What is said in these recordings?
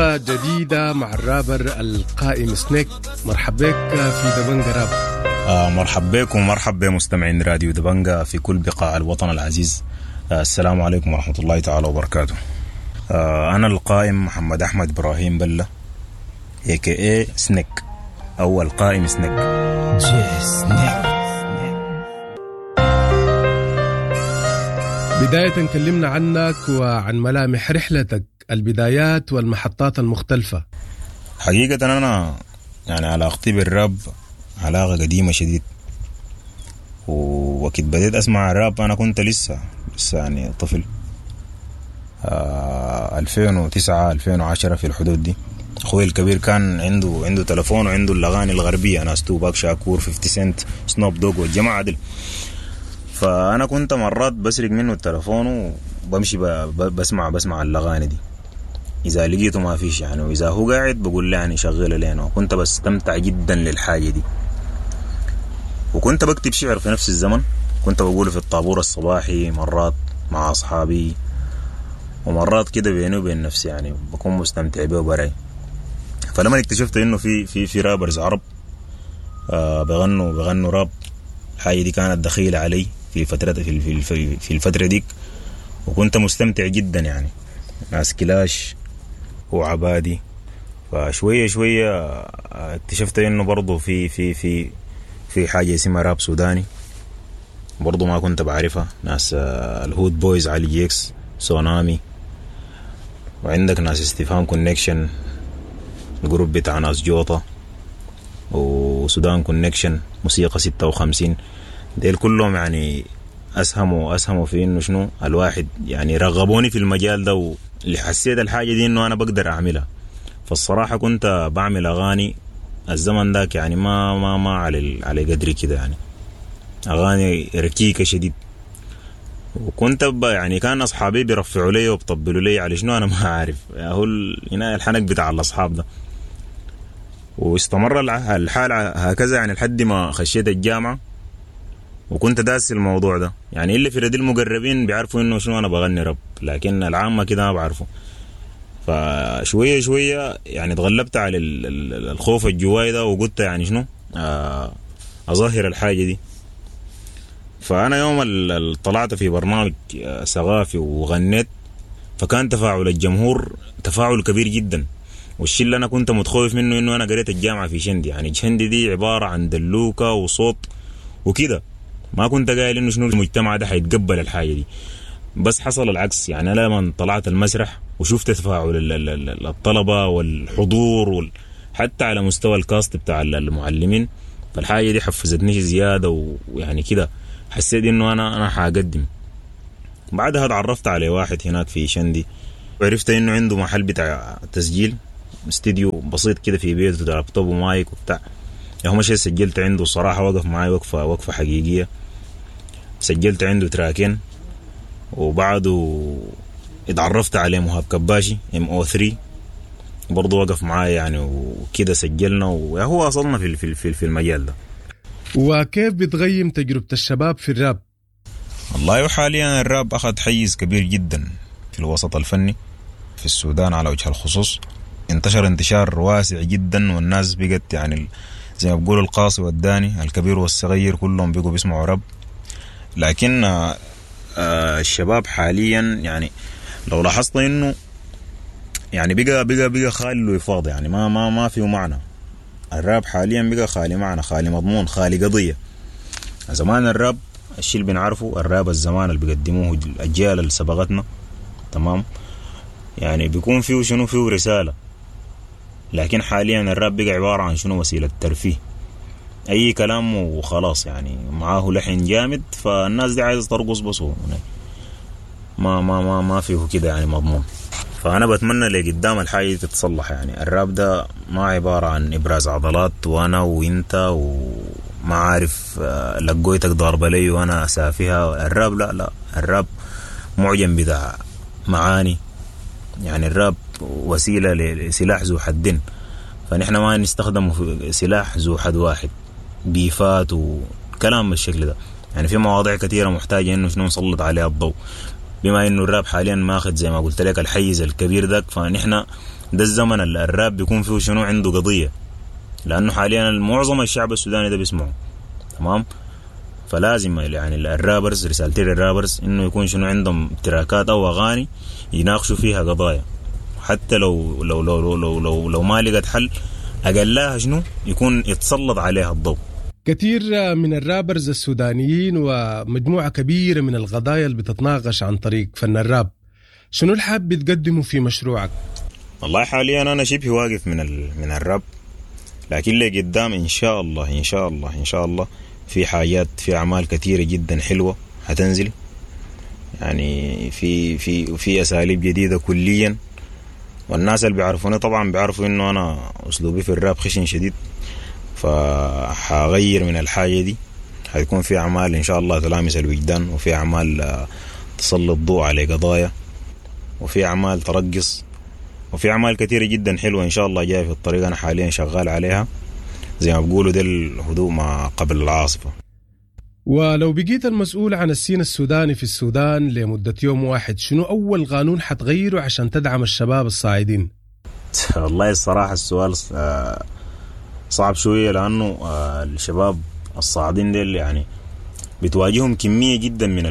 جديدة مع الرابر القائم سنيك. مرحب بك في دبنجة راب. مرحب بكم ومرحب بمستمعين راديو دبنجة في كل بقاع الوطن العزيز. السلام عليكم ورحمة الله تعالى وبركاته. أنا القائم محمد أحمد إبراهيم بلة، AKA سنيك أو القائم سنيك. بداية كلمنا عنك وعن ملامح رحلتك، البدايات والمحطات المختلفة. حقيقة أنا يعني علاقتي بالراب علاقة قديمة شديد، ووقت بديت أسمع الراب أنا كنت لسه يعني طفل، 2009 2010 في الحدود دي. أخوي الكبير كان عنده تلفون وعنده الأغاني الغربية، ناس توباك شاكور، 50 سنت، سنوب دوغ والجماعة دي. فأنا كنت مرات بسرق منه التلفون وبمشي بسمع الأغاني دي، إذا لقيته ما فيش يعني، وإذا هو قاعد بقول له يعني شغله لينا، وكنت بستمتع جدا للحاجة دي. وكنت بكتب شعر في نفس الزمن، كنت بقوله في الطابور الصباحي مرات مع أصحابي، ومرات كده بيني وبين نفسي يعني بكون مستمتع به وبراي. فلما اكتشفت إنه في في في rappers عرب بغنوا راب، الحاجة دي كانت دخيلة علي في فترة في في في الفترة ديك، وكنت مستمتع جدا يعني، ناس كلاش وعبادي. فشوية شوية اكتشفت إنه برضو في في في في حاجة اسمها راب سوداني، برضو ما كنت بعرفها، ناس الهود بويز، علي جيكس، سونامي، وعندك ناس استفهام كونكشن، ال group بتاع ناس جوطة، وسودان كونكشن، موسيقى 56. ديل كلهم يعني أسهموا في إنه شنو الواحد يعني رغبوني في المجال ده، واللي حسيت الحاجة دي إنه أنا بقدر أعملها. فالصراحة كنت بعمل أغاني الزمن ذاك يعني ما ما ما على قدري كده يعني، أغاني ركيكة شديد. وكنت يعني كان أصحابي بيرفعوا لي وبطبلوا لي على شنو أنا ما عارف، هو هنا الحنك بتاع الأصحاب ده. واستمر الحال هكذا يعني لحد ما خشيت الجامعة، وكنت داس الموضوع ده يعني، اللي في ردي المقربين بيعرفوا إنه شنو أنا بغني راب، لكن العامة كده ما بعرفوا. فشوية شوية يعني تغلبت على الخوف الجواي ده، وقلت يعني شنو أظهر الحاجة دي. فأنا يوم طلعت في برنامج ثقافي وغنيت، فكان تفاعل الجمهور تفاعل كبير جدا. والشيء اللي أنا كنت متخوف منه إنه أنا قريت الجامعة في شندي، يعني شندي دي عبارة عن دلوكة وصوت وكده، ما كنت قايل إنه شنو المجتمع ده حيتقبل الحاجة دي، بس حصل العكس. يعني أنا لما طلعت المسرح وشفت تفاعل الطلبة والحضور حتى على مستوى الكاست بتاع المعلمين، فالحاجة دي حفزتني زيادة، ويعني كده حسيت إنه أنا حقدم. بعدها تعرفت على واحد هناك في شندي، وعرفت إنه عنده محل بتاع تسجيل، استديو بسيط كده في بيته، لابتوب ومايك وبتاع. هو مشي سجلت عنده، الصراحة وقف معي وقفة حقيقية، سجلت عنده تراكين. وبعده اتعرفت عليه مهاب كباشي MO3، برضه وقف معاي يعني وكده سجلنا، وهو وصلنا في في في المجال ده. وكيف بتغيم تجربة الشباب في الراب؟ والله حاليا الراب أخذ حيز كبير جدا في الوسط الفني في السودان على وجه الخصوص، انتشر انتشار واسع جدا، والناس بقت يعني زي ما بيقولوا القاصي والداني، الكبير والصغير كلهم بقوا بيسمعوا راب. لكن الشباب حاليا يعني لو لاحظت انه يعني بقى خالي الوفاض، يعني ما ما ما فيه معنى. الراب حاليا بقى خالي معنى، خالي مضمون، خالي قضية. زمان الراب الشيء اللي بنعرفه، الراب الزمان اللي بيقدموه الأجيال اللي سبقتنا، تمام، يعني بيكون فيه شنو، فيه رسالة. لكن حاليا الراب بقى عبارة عن شنو، وسيلة ترفيه، أي كلام وخلاص يعني، معاه لحن جامد، فالناس دي عايزة ترقص بس، ما ما ما ما فيه كده يعني مضمون. فأنا بتمنى لقدام الحاجة تتصلح يعني. الراب ده ما عبارة عن إبراز عضلات وأنا وإنت وما عارف لقويتك ضاربة لي وأنا سافيها. الراب لا لا، الراب معجم بتاع معاني يعني. الراب وسيلة لسلاح ذو حدين، فنحن ما نستخدمه في سلاح ذو حد واحد، بيفات وكلام بالشكل ده يعني. في مواضيع كثيرة محتاجة إنه شنو نسلط عليها الضوء، بما إنه الراب حاليا ماخذ زي ما قلت لك الحيز الكبير ذاك، فنحن ده الزمن اللي الراب بيكون فيه شنو عنده قضية، لأنه حاليا معظم الشعب السوداني ده بيسمعه. تمام؟ فلازم يعني ال rappers، رسالتي لل rappers انه يكون شنو عندهم تراكات او اغاني يناقشوا فيها قضايا، حتى لو لو لو لو لو, لو ما لقت حل اقلها شنو يكون يتسلط عليها الضوء. كثير من ال rappers السودانيين ومجموعة كبيرة من القضايا اللي بتتناقش عن طريق فن الراب، شنو الحاب بتقدمه في مشروعك؟ والله حاليا انا شبه واقف من الراب، لكن لقدام ان شاء الله ان شاء الله ان شاء الله في حاجات، في اعمال كثيرة جدا حلوة هتنزل، يعني في في في اساليب جديدة كليا. والناس اللي بيعرفوني طبعا بيعرفوا انه انا اسلوبي في الراب خشن شديد، فحغير من الحاجة دي. حيكون في اعمال ان شاء الله تلامس الوجدان، وفي اعمال تسلط الضوء على قضايا، وفي اعمال ترقص، وفي اعمال كثيرة جدا حلوة ان شاء الله جاية في الطريق، انا حاليا شغال عليها. زي ما بقولوا ده الهدوء ما قبل العاصفة. ولو بقيت المسؤول عن ال scene السوداني في السودان لمدة يوم واحد، شنو أول قانون حتغيره عشان تدعم الشباب الصاعدين؟ والله الصراحة السؤال صعب شوية، لأنه الشباب الصاعدين ديل يعني بتواجههم كمية جدا من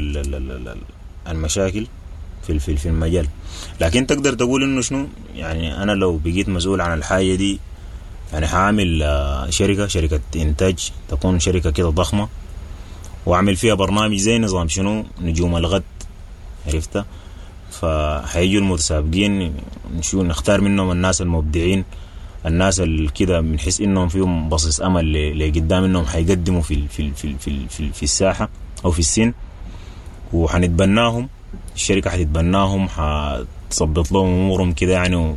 المشاكل في في المجال. لكن تقدر تقول إنه شنو يعني أنا لو بقيت مسؤول عن الحاجة دي، يعني حاعمل شركة إنتاج، تكون شركة كده ضخمة، وأعمل فيها برنامج زي نظام شنو نجوم الغد، عرفتها؟ فحيجوا المتسابقين نشو نختار منهم الناس المبدعين، الناس اللي كده بنحس انهم فيهم بصيص امل لقدام، انهم حيقدموا في في في في في, في الساحة او في ال scene، وحنتبناهم، الشركة حتتبناهم، حتظبط لهم امورهم كده يعني،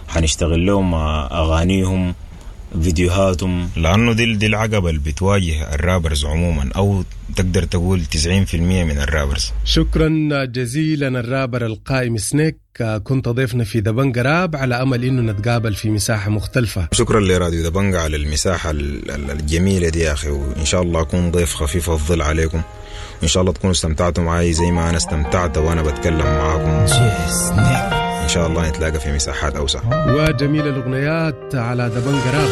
وحنشتغل لهم اغانيهم، فيديوهاتهم. لانه دي العقبة اللي بتواجه ال rappers عموما، او تقدر تقول 90% من ال rappers. شكرا جزيلا الرابر القائم سنيك، كنت ضيفنا في دبنجة راب، على امل انه نتقابل في مساحة مختلفة. شكرا لراديو دبنجة على المساحة الجميلة دي يا اخي، وان شاء الله اكون ضيف خفيف الظل عليكم، وان شاء الله تكونوا استمتعتوا معي زي ما انا استمتعت وانا بتكلم معاكم. إن شاء الله نتلاقى في مساحات أوسع. وجميل الأغنيات على دبنجة راب.